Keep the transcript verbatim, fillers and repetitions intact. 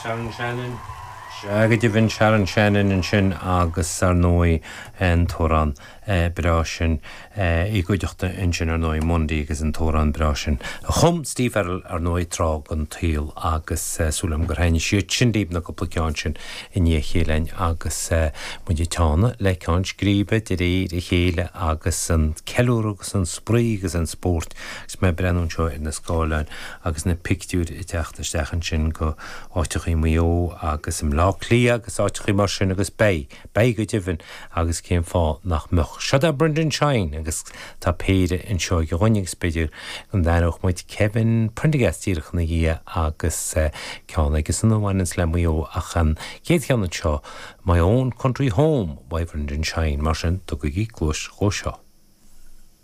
Sharon Shannon. Sea go deimhin Sharon Shannon ansin agus ar ndóigh an t-amhrán breá sin i gcuideachta ansin ar ndóigh Mundy agus an t-amhrán breá sin. Chum Steve Farrell ar ndóigh tráth den tsaol agus súil agam gur thaitin siad sin libh na cúpla ceann sin i ndiaidh a chéile agus muid ag teannadh le ceann scríbe de réir a chéile agus an ceiliúradh agus an spraoi agus an spórt agus mé ag breathnú anseo ar na scáileáin agus na pictiúir ag teacht isteach ansin go áiteachaí Maigh Eo agus i mBleá Cliath agus áiteachaí mar sin agus beidh, beidh go deimhin agus cén fáth nach mbeadh. Seo é Brendan Shine agus tá péire anseo ag dhuine agus b'fhéidir go n-aithneodh muid Kevin Prendergast díreach ina dhiaidh agus ceann aige san a bhaineanns le Maigh Eo ach an chéad cheann anseo My Own Country Home by Brendan Shine mar sin tugaigí cluas dhó seo.